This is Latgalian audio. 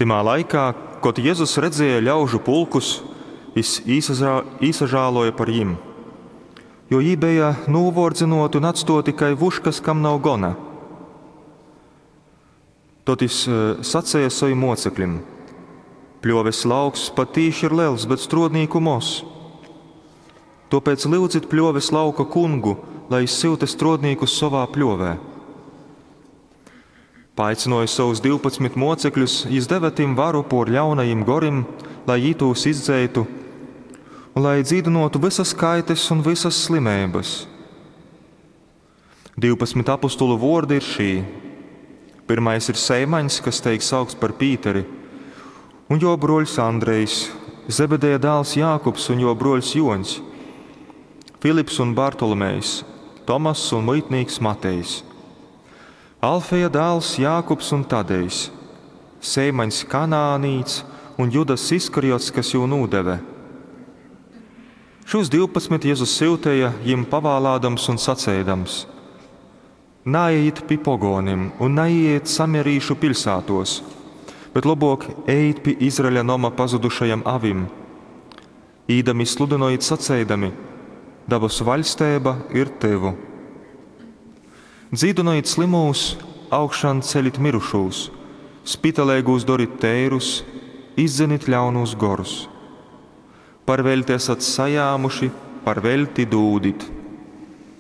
Tymā laikā, kod Jezus redzēja ļaužu pulkus, jys īsažālōja par jim, jo jī beja nūvōrdzynōti un atstōti kai vuškas, kam nav gona. Tod jys saceja sovim mōceklim, Pļōves lauks patīši ir lels, bet strōdnīku moz. Tōpēc lyudzit pļōves lauka Kungu, lai jys syuta strōdnīkus sovā pļōvē. Paaicynōjis sovus 12 mōcekļus, jys deve tim varu pōr ļaunajim gorim, lai jī tūs izdzeitu un lai dzīdynōtu vysas kaites un vysas slimeibas. 12 apostolu vōrdi ir šī. Pyrmais ir Seimaņs, kas teik saukts par Pīteri, un jō brōļs Andrejs, Zebedeja dāls Jākubs un jō brōļs Jōņs, Filips un Bartolomejs, Tomass un muitnīks Matejs, Alfeja dāls Jākubs un Tadejs, Seimaņs Kanānīts un Judass Iskariots, kas jū nūdeve. Šūs 12 Jezus syuteja, jim pavālādams un saceidams: Naejit pi pogōnim un naīejit samarīšu piļsātōs, bet lobōk ejit pi Izraeļa noma pazudušajam avim. Īdami sludynojit saceidami: Dabasu vaļsteiba ir tyvu. Dzīdynojit slymūs, augšanceļit mirušūs, spitaleigūs dorit teirus, izdzenit ļaunūs gorus. Par veļti esat sajāmuši, par veļti dūdit.